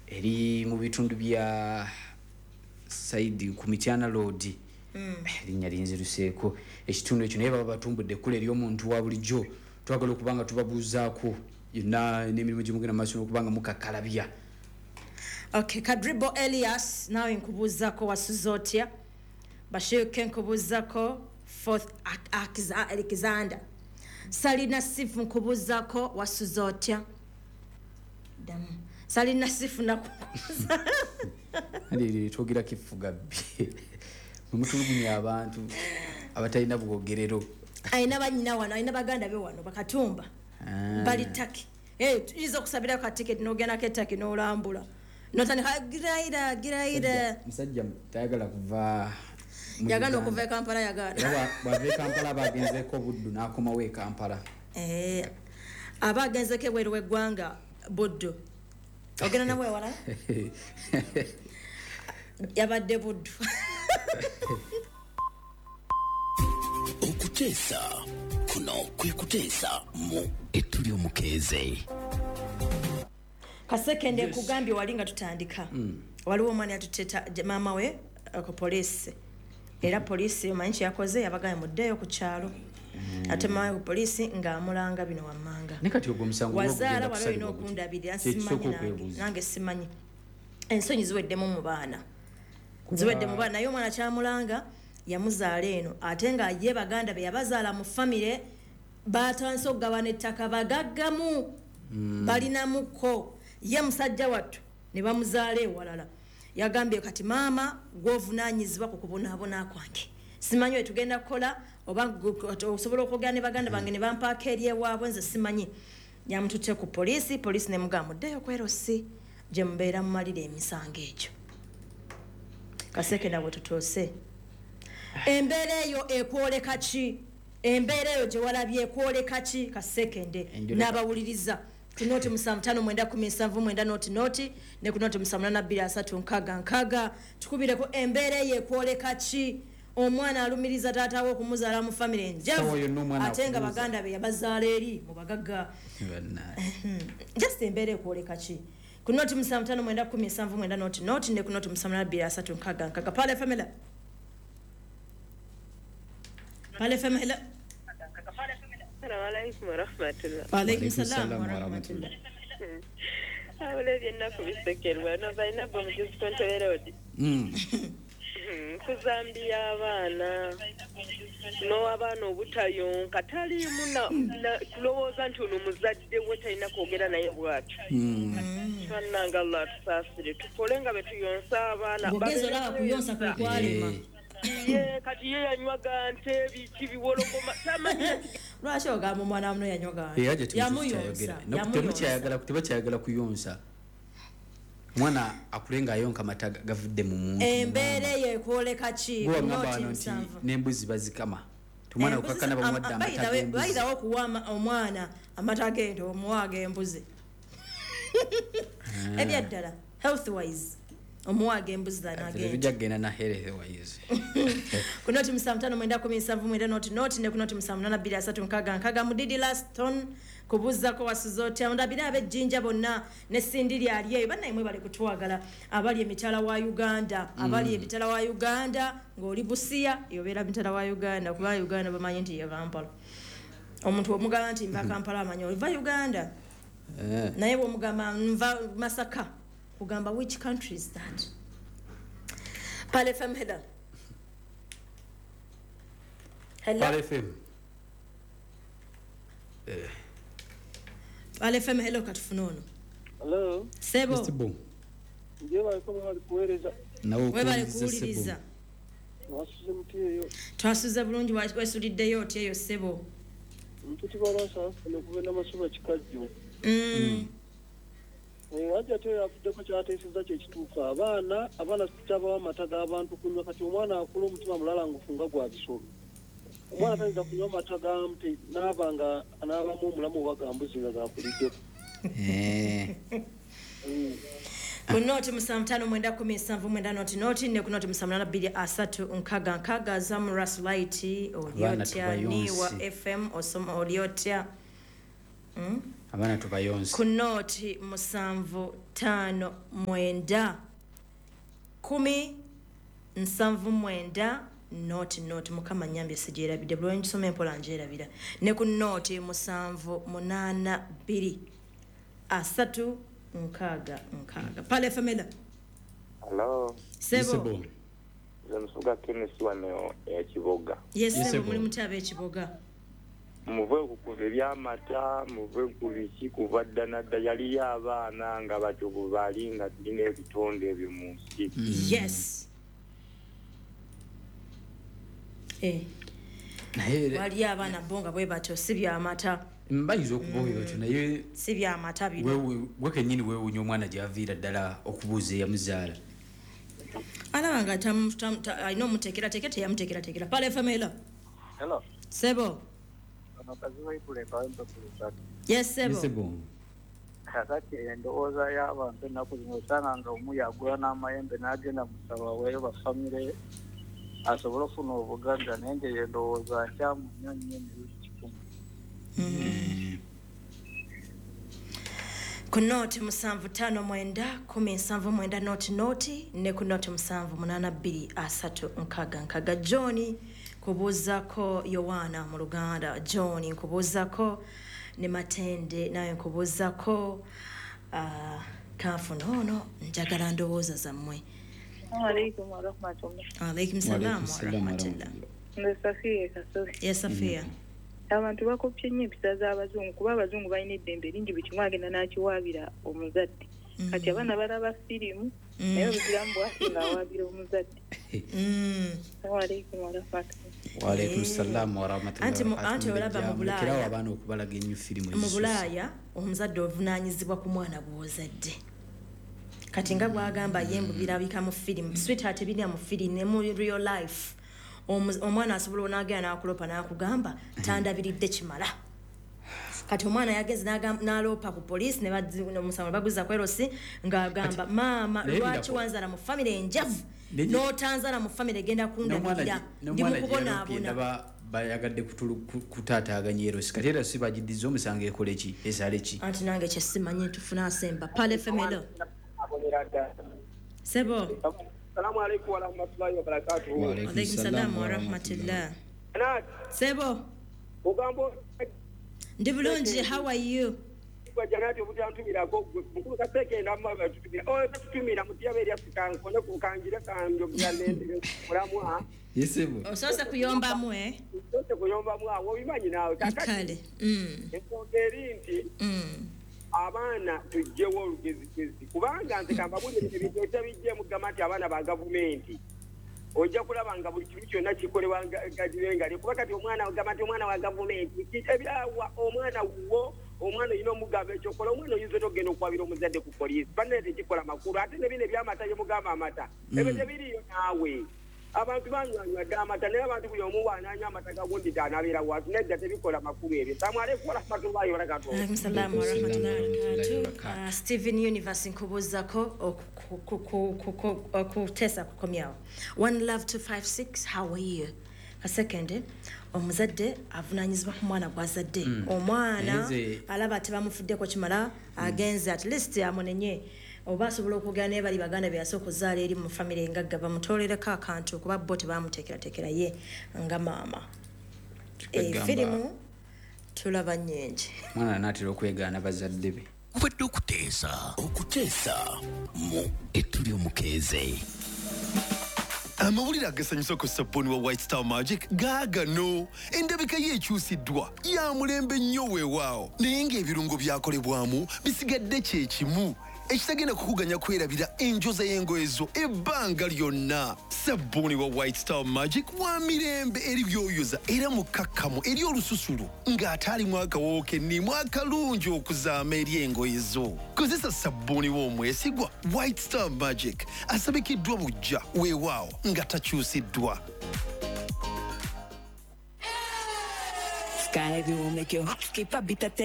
Eri mu bitundu bya side ku Mityana Road. Erinnya linziruseeko ekitundu ekyo, naye baba batumbudde ekkula ery'omuntu wa bulijjo. Twagala okuba nga tubabuuzaako yonna n'emirimu gyemugenda mu maaso n'okuba nga mukakkalabya. Okay, Kadribo Elias, nawe nkubuuzako, wasuze otya? Bashirke nkubuuzako. Fourth Alexander Salina Sifu nkubuuzako, wasuze otya? Ddamu. Salina Sifu nakubuuza. Twogera kifuga bbi, mutulugunya abantu abatalina bwogerero. Alina banyina wano, alina baganda be wano bakatumba. Bali Taki. Tuyinza okusabirako ka tiketi n'ogendako e Taki n'olambula notandika giraira giraira. Musajja tayagala kuva mu Yagaana Uganda. okuva e Kampala, yagaana. Era bw'ava e Kampala aba agenzeeko Buddu, n'akomawo e Kampala. Aba agenzeko ebweru w'eggwanga Buddu, ogenda nabwe ewalala, yabadde Buddu. Okuteesa kuno kwe kuteesa mu ettu ly'omukeeze. Kasekende, nkugambye wali nga tutandika, waliwo omwana yatuteta maama we ku poliisi, era poliisi omanyi kyeyakoze? Yabagambye muddeeyo ku kyalo. Ate maama we ku poliisi ng'amulanga bino wammanga. Naye kati ogwo omusango Wazaala gwagenda wali olina kusalibwa gutya? okundabirira. Kyekisooka Simanyi nange. okwebuuza. Nange simanyi, ensonyi ziweddemu mu baana, ziwedde mu baana. Naye omwana kyamulanga yamuzaala eno, ate nga ye baganda be yabazaala mu famire batandise okugabana ettaka, bagaggamu, balinamuko. Ye musajja wattu ne bamuzaala ewalala. Yagambye kati maama gwovunaanyizibwa ku kubonaabona kwange, simanyi we tugenda kukola oba osobola okwogera ne baganda bange ne bampaako eri ewaabwe, nze simanyi. Yamututte ku poliisi, poliisi nemugamba muddeyo kwerosi gye mubeera mumalira emisango egyo. Kasekenda, bwe tutuuse, embeera eyo ekwoleka ki? Embeera eyo gye walabye ekwoleka ki, Kasekende? N'abawuliriza ku 0759179 00 ne ku 0782366, tukubireko embeera eyo ekwoleka ki? Omwana alumiriza taata we okumuzaala mu famire enjavu, Sawa yonna omwana ate nga akubuuza. baganda be yabazaala eri mu bagagga. Bannange. Just embeera ekwoleka ki? Ku 0759179 00 ne ku 0782366. Pale FM, hello. Pale FM, hello. Assalamu alaikum warahmatullah. Waalaikum Waalaikum salam salam warahmatullah. Abula ebyennaku bisekerwa no Zainabu omujuzi Tontoberodi. Kuzambiya abaana n'abaana obutayonka taliimu kulowooza nti ono muzadde we talina kwogera naye bw'atyo. Bannange, Allah atusaasire, tukole nga bwe tuyonsa abaana. Ng'ogenza olaba kuyonsa kwe kwalema. Ye kati ye yanywaga nte biki biwologoma tamanyi. Lwaki ogamba omwana muno yanywaga? Era gye Yamuyonsa. temukyayagala, tebakyayagala kuyonsa. Omwana akule ng'ayonka mata gavudde mu muntu. Embeera eyo ekwoleka ki? Gwe Ku wangamba noti wano nti 7. n'embuzi bazikama, omwana okakkana bamuwadde amata g'embuzi. Bayirawo okuwa omwana amata g'ente, omuwa ag'embuzi. Ebyaddala, health wise, omuwa ag'embuzi than ag'ente. Tujja kugenda na health wise. Ku 0759179 00 ne ku 0782366. Mudidi Laston, kubuuzako wasuze otya? Ndabire ab'ejjinja bonna ne Sindiri ali eyo. Bannaye bali kutwagala abali emitala wa Uganda, abali emitala wa Uganda, ng'oli Busiya yobeera mitala wa Uganda, kuba Uganda bamanyi nti ye Kampala. Omuntu omugamba nti nva Kampala, amanyi oliva Uganda. Naye bwomugamba nva Masaka, kugamba which country is that? Pale FM, hello. Hello. Pale FM. Pale FM, hello. Katufune ono. Hello, Sebo. Mr. Bo. Nje baliko bali kuweereza. Nawe Webale okuwuliriza, kuwuliriza. Sebo. Mwasuze muti eyo? Twasuze bulungi. Wesuliddeyo otya eyo, ssebo? Mpitibwa Lwasa okuva Namasuba Kikajjo. Wajja ate yavuddeko kyateeseza kyekituufu, abaana kyabawa amata g'abantu kunywa. Kati omwana akula omutima mulalangufu nga gwa bisolo. Omwana tayinza kunywa mata ga nte naaba nga anaabamu omulamu oba ga mbuzi nga gakuliddeko. Ku 0759179 00 ne ku 0782366. Zamras Light, oli Abaana otya? tubayonse. Niwa FM, osoma oli otya? Abaana tubayonse. Ku nooti 7 5 9 10 79 0 0. Mukama nyambye sigyerabidde, buli ngisoma empola ngyerabira. Ne ku nooti 7 8 2 3 6 6. Pale famila. Hello. Sebo. Nze Musuga Kenneth wano e Kiboga. Yes, sebo, muli mutabe Kiboga. Muve ku ebyamata, muve ku biki kuva dda nadda, yaliyo abaana nga batyo bwe bali nga tulina ebitonde ebyo mu nsi. Yes. Waliyo abaana bo nga bwe batyo, si byamata. Mbayinza okuba bwe batyo, naye si byamata bino. Gwe kennyini weewuunya omwana gy'aviira ddala okubuuza eyamuzaala. Alaba nga alina omuteekerateekera, teyamuteekerateekera. Pale famila. Hello. Sebo. Yes, sebo. Kakati endowooza y'abantu ennaku zino osanga nga omu yagula n'amayembe n'agenda musaba weeyo bafamire asobole okufuna obugagga, naye nge endowooza nkyamu nnyo nnyo emirundi 100. Ku nooti 7 5 9 10 79 0 0 ne ku nooti 7 8 2 3 6 6. John nkubuuzaako Yowaana mu Luganda. John nkubuuzaako ne Matende naye nkubuuzaako. Kanfuna ono, njagala ndowooza zammwe. Alaikum wa rahmatullah. Alaikum salam wa rahmatullah. Nze Safiya Kasozi. Yes, Safiya. Abantu bakopye nnyo empisa z'abazungu, kuba abazungu balina eddembe lingi, buli kimu agenda n'akiwaabira omuzadde. Kati abaana balaba firimu, naye obugiramu bwasi ng'awaabira omuzadde. Assalamu wa rahmatullah. Wa alaikum salam wa rahmatullah. Anti olaba mu Bulaaya, abaana okubalaga ennyo firimu. Mu Bulaaya omuzadde ovunaanyizibwa ku mwana gw'ozadde. Kati nga bw'agamba ye mbu birabika mu firimu, sweetheart, ebiri mu firimu ne mu real life. Omwana asobola onagenda n'akulopa n'akugamba tandabiridde kimala. Kati omwana yageze n'aloopa ku poliisi ne omusango baguza ku erosi ng'agamba maama lwaki wanzala mu famire enjavu n'otanzala mu famire egenda kundabirira, ndi mu kubonaabona. Bayagadde kutaataaganya erosi, kati era si bagiddiza omusango ekole ki, esale ki? Anti nange kye simanyi, tufuna asemba. Pale femelo. Sebo. Assalamu alaikum wa rahmatullahi wa barakatuh. Wa alaikum salam wa rahmatullah. Sebo. Ogambo ndi bulungi, how are you? Kwa janati obutantumirako mukulu kaseke ndamma batutumira. Oh tutumira mutiya eri Afrika nkone kukangira kanjo byalende mulamwa. Yesebo. Osoose kuyombamu Osoose kuyombamu awo obimanyi naawe. Kale. Ensonga eri nti abaana tujjewo olugezigezi, kubanga nze kambabulire ebintu etabijje mugamba nti abaana ba gavumenti ojja kulaba nga buli kimu kyonna kikolebwa gagirengali, kuba kati omwana ogamba nti omwana wa gavumenti ebyawa omwana wuwo, omwana olina omugamba ekyokola, omwana oyinza otogenda okwabira omuzadde ku poliisi, bannaye tekikola makulu. Ate ne bino ebyamata byemugamba amata ebyo tebiriiyo naawe. Abantu banywanywa dda amata, naye abantu buli omu bw'anaanywa amata gagundi anabeera watu, nedda tebikola makulu ebyo. Assalamu alaikum warahmatullahi wabarakatuh. Alaikum salam warahmatullahi wabarakatuh. Stephen Universe nkubuuzaako okuteesa kukomyawo. 1 love 256, how are you? Kasekende, omuzadde avunaanyizibwa ku mwana gw'azadde. Omwana alaba tebamufuddeko kimala, agenze at least amunenye oba asobola okwogera naye bali baganda be yasooka okuzaala eri mu famire engagga bamutolereko akantu, kuba bo tebamuteekerateekera ye nga maama. Firimu tulaba nnyingi. Mwana anaatera okwegaana bazadde be. Kubadde okuteesa mu Ettuli Omukeeze. Amawulire agasanyusa ku sabbuuni wa White Star Magic gaagano. Endabika ye ekyusiddwa ya mulembe nnyo weewaawo, naye ng'ebirungo byakolebwamu bisigadde kye kimu ekitagenda kukuganya kwerabira enjoza y'engoye zo ebbanga lyonna. Sabbuuni wa White Star Magic wa mirembe eri byoyoza era mukkakkamu eri olususu ng'ate alimu akawoowo kennimu akalungi okuzaama eri engoye zo. Kozesa sabbuuni w'omwesigwa White Star Magic asabikiddwa buggya weewaawo nga takyusiddwa. Sky will make your heart skip a beat.